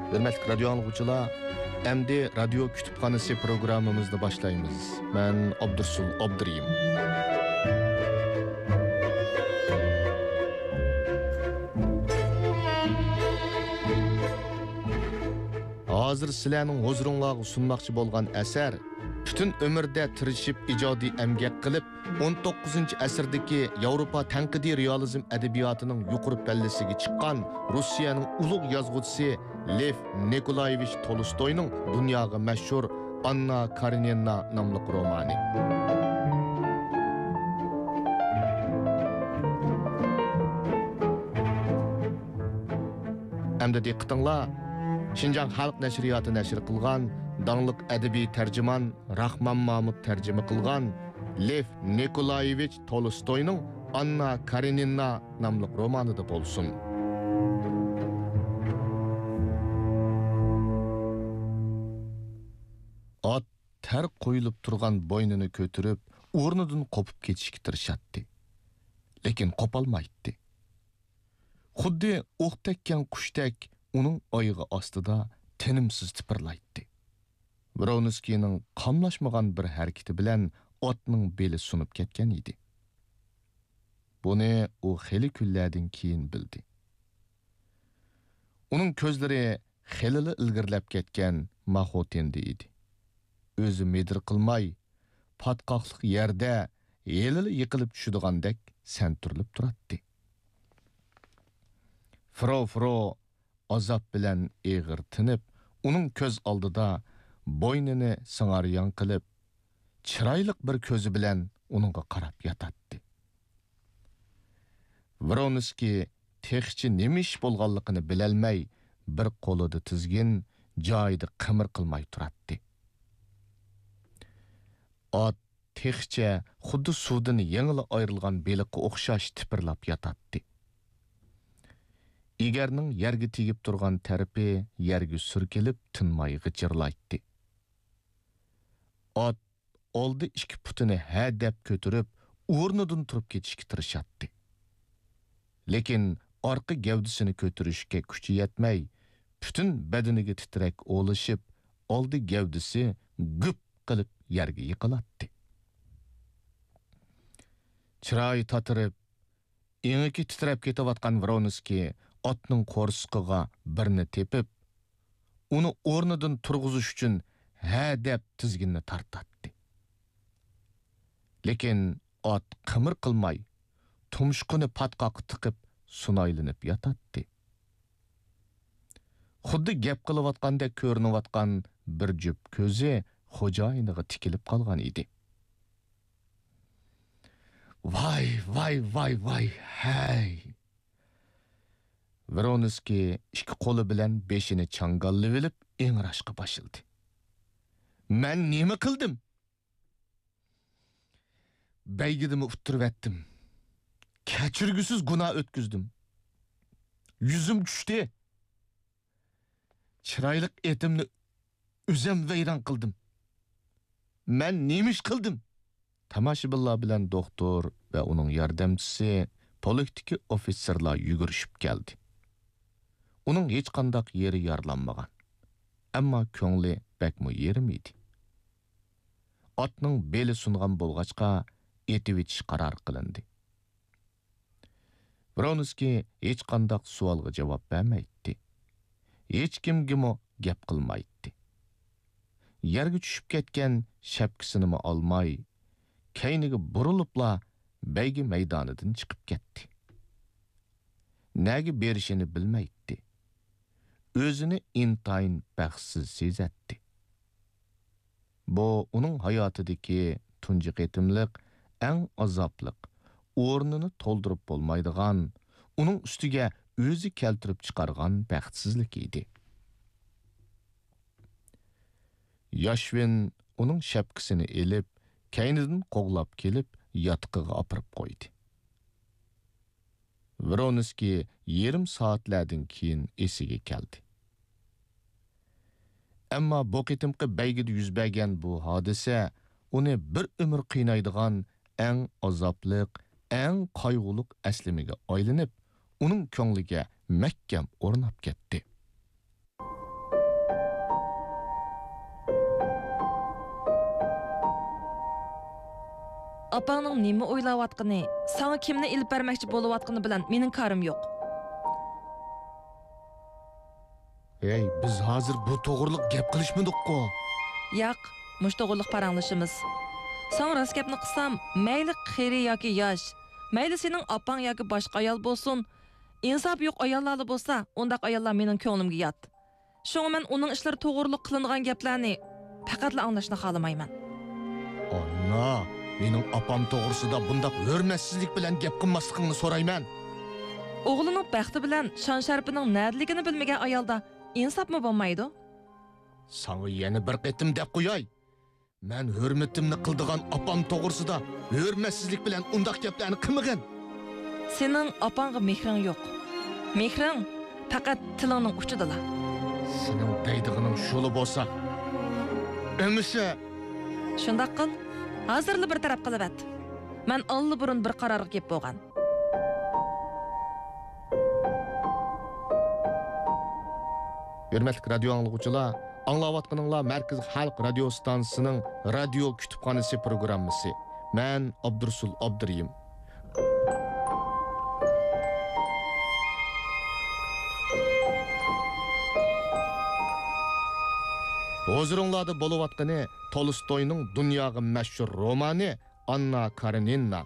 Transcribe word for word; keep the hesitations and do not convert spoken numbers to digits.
ھۆرمەتلىك رادىيو ئاڭلىغۇچىلار، ئەمدى رادىيو كۇتۇپخانىسى پروگراممىمىزنى باشلايمىز. مەن ئابدۇرسۇل ئابدۇرېھىم. ھازىر سىلەرنىڭ ھۇزۇرۇڭلارغا سۇنماقچى بولغان ئەسەر، پۈتۈن ئۆمرىدە تىرىشىپ ئىجادىي ئەمگەك قىلىپ، ئون توققۇزىنچى ئەسىردىكى ياۋروپا تەنقىدىي رېئالىزم ئەدەبىياتىنىڭ يۇقىرى پەللىسىگە چىققان روسىيەنىڭ ئۇلۇغ يازغۇچىسى لېف نىكولايېۋىچ تولستوينىڭ دۇنياغا مەشھۇر ئاننا كارېنىنا ناملىق رومانى. ئەمدى دىققىتىڭلار، شىنجاڭ خەلق نەشرىياتى نەشر قىلغان داڭلىق ئەدەبىي تەرجىمان راخمان مامۇت تەرجىمە قىلغان لېف نىكولايېۋىچ تولستوينىڭ ئاننا كارېنىنا ناملىق رومانىدا بولسۇن. ئات تەر قويۇلۇپ تۇرغان بوينىنى كۆتۈرۈپ، ئورنىدىن قوپۇپ كېتىشكە تىرىشاتتى. لېكىن قوپالمايتتى. خۇددى ئوق تەگكەن قۇشتەك ئۇنىڭ ئايىغى ئاستىدا تىنىمسىز تىپىرلايتتى. ۋرونسكىينىڭ قاملاشمىغان بىر ھەرىكىتى بىلەن ئاتنىڭ بېلى سۇنۇپ كەتكەن ئىدى. بۇنى ئۇ خېلى كۈنلەردىن كېيىن بىلدى. ئۇنىڭ كۆزلىرى خېلىلا ئىلگىرىلەپ كەتكەن ماخوتىندە ئىدى. ئۆزى مىدىر قىلماي، پاتقاقلىق يەردە ھېلىلا يىقىلىپ چۈشىدىغاندەك سەنتۈرۈلۈپ تۇراتتى. فرو، فرو ئازاب بىلەن ئېغىر تىنىپ، ئۇنىڭ كۆز ئالدىدا بوينىنى سىڭاريان قىلىپ، چىرايلىق بىر كۆزى بىلەن ئۇنىڭغا قاراپ ياتاتتى. ۋرونسكىي تېخىچە نېمە ئىش بولغانلىقىنى بىلەلمەي، بىر قولىدا تىزگىن، جايىدا قىمىر قىلماي تۇراتتى. ئات تېخىچە خۇددى سۇدىن يېڭىلا ئايرىلغان بېلىققا ئوخشاش تىپىرلاپ ياتاتتى. ئېگەرنىڭ يەرگە تېگىپ تۇرغان تەرىپى يەرگە سۈركىلىپ تىنماي غىچىرلايتتى. ئات ئالدى ئىككى پۇتىنى ھەدەپ كۆتۈرۈپ، ئورنىدىن تۇرۇپ كېتىشكە تىرىشاتتى. لېكىن ئارقا گەۋدىسىنى كۆتۈرۈشكە كۈچى يەتمەي، پۈتۈن بەدىنىگە تىترەك ئولىشىپ، ئالدى گەۋدىسى گۈپ قىلىپ يەرگە يىقىلاتتى. چىرايى تاتىرىپ، ئېڭىكى تىترەپ كېتىۋاتقان ۋرونسكىي ئاتنىڭ قورسىقىغا بىرنى تېپىپ، ئۇنى ئورنىدىن تۇرغۇزۇش ئۈچۈن ھە دەپ تىزگىننى تارتاتتى. لېكىن ئات قىمىر قىلماي، تۇمشۇقىنى پاتقاققا تىقىپ سۇنايلىنىپ ياتاتتى. خۇددى گەپ قىلىۋاتقاندەك كۆرۈنۈۋاتقان بىر جۈپ كۆزى خوجايىنىغا تىكىلىپ قالغان ئىدى. ۋاي، ۋاي، ۋاي، ۋاي، ھەي! ۋرونسكىي ئىككى قولى بىلەن بېشىنى چاڭگاللىۋېلىپ ئىڭراشقا باشلىدى. مەن نېمە قىلدىم؟ بەيگىدىمۇ ئۇتتۇرۇۋەتتىم. كەچۈرگۈسىز گۇناھ ئۆتكۈزدۈم. يۈزۈم چۈشتى. چىرايلىق ئېتىمنى ئۆزۈم ۋەيران قىلدىم. مەن نېمە ئىش قىلدىم؟ تاماشىبىنلار بىلەن دوختۇر ۋە ئۇنىڭ ياردەمچىسى پولكتىكى ئوفىتسېرلار يۈگۈرۈشۈپ كەلدى. ئۇنىڭ ھېچقانداق يېرى يارىلانمىغان. ئەمما كۆڭلى بەكمۇ يېرىم ئىدى. ئاتنىڭ بېلى سۇنغان بولغاچقا، ئېتىۋېتىش قارار قىلىندى. ۋرونسكىي ھېچقانداق سوئالغا جاۋاب بەرمەيتتى. ھېچكىمگىمۇ گەپ قىلمايتتى. يەرگە چۈشۈپ كەتكەن شەپكىسىنىمۇ ئالماي، كەينىگە بۇرۇلۇپلا بەيگە مەيدانىدىن چىقىپ كەتتى. نەگە بېرىشىنى بىلمەيتتى. ئۆزىنى ئىنتايىن بەختسىز سېزەتتى. بۇ ئۇنىڭ ھاياتىدىكى تۇنجى قېتىملىق، ئەڭ ئازابلىق، ئورنىنى تولدۇرۇپ بولمايدىغان، ئۇنىڭ ئۈستىگە ئۆزى كەلتۈرۈپ چىقارغان بەختسىزلىكى ئىدى. ياشۋىن ئۇنىڭ شەپكىسىنى ئېلىپ، كەينىدىن قوغلاپ كېلىپ، ياتىقىغا ئاپىرىپ قويدى. ۋرونسكىي يېرىم سائەتلەردىن كېيىن ئېسىگە كەلدى. ئەمما بۇ قېتىمقى بەيگىدە يۈز بەرگەن بۇ ھادىسە ئۇنى بىر ئۆمۈر قىينايدىغان ئەڭ ئازابلىق، ئەڭ قايغۇلۇق ئەسلىمىگە ئايلىنىپ، ئۇنىڭ كۆڭلىگە مەھكەم ئورناپ كەتتى. ئاپاڭنىڭ نېمە ئويلاۋاتقىنى، ساڭا كىمنى ئېلىپ بەرمەكچى بولۇۋاتقىنى بىلەن مېنىڭ كارىم يوق. ھەي، بىز ھازىر بۇ توغرىلىق گەپ قىلىشمىدۇققۇ؟ ياق، مۇشۇ توغرىلىق پاراڭلىشىمىز. ساڭا راست گەپنى قىلسام، مەيلى قېرى ياكى ياش، مەيلى سېنىڭ ئاپاڭ ياكى باشقا ئايال بولسۇن، ئىنساپى يوق ئاياللارلا بولسا، ئۇنداق ئاياللار مېنىڭ كۆڭلۈمگە يات. شۇڭا مەن ئۇنىڭ ئىشلىرى توغرۇلۇق قىلىنغان گەپلەرنى پەقەتلا ئاڭلاشنى خالىمايمەن. ئانا، مېنىڭ ئاپام توغرىسىدا بۇنداق ھۆرمەتسىزلىك بىلەن گەپ قىلماسلىقىڭنى سورايمەن. ئوغلىنىڭ بەختى بىلەن شان-شەرىپىنىڭ نەدىلىكىنى بىلمىگەن ئايالدا ئىنساپمۇ بولمايدۇ. ساڭا يەنە بىر قېتىم دەپ قوياي. مەن ھۆرمىتىمنى قىلىدىغان ئاپام توغرىسىدا ھۆرمەتسىزلىك بىلەن ئۇنداق گەپلەرنى قىلمىغىن. سېنىڭ ئاپاڭغا مېھرىڭ يوق. مېھرىڭ پەقەت تىلىڭنىڭ ئۇچىدىلا. سېنىڭ دەيدىغىنىڭ شۇلا بولسا، ئەمىسە. شۇنداق قىل، ھازىرلا بىر تەرەپ قىلىۋەت. مەن ئاللىبۇرۇن بىر قارارغا كېلىپ بولغان. ھۆرمەتلىك رادىيو ئاڭلىغۇچىلار، ئاڭلاۋاتقىنىڭلار مەركىزىي خەلق رادىيو ستانسىسىنىڭ رادىيو كۇتۇپخانىسى پروگراممىسى. مەن ئابدۇرۇسۇل ئابدۇرېھىم. ھۇزۇرۇڭلاردا بولۇۋاتقىنى تولستوينىڭ دۇنياغا مەشھۇر رومانى ئاننا كارېنىنا.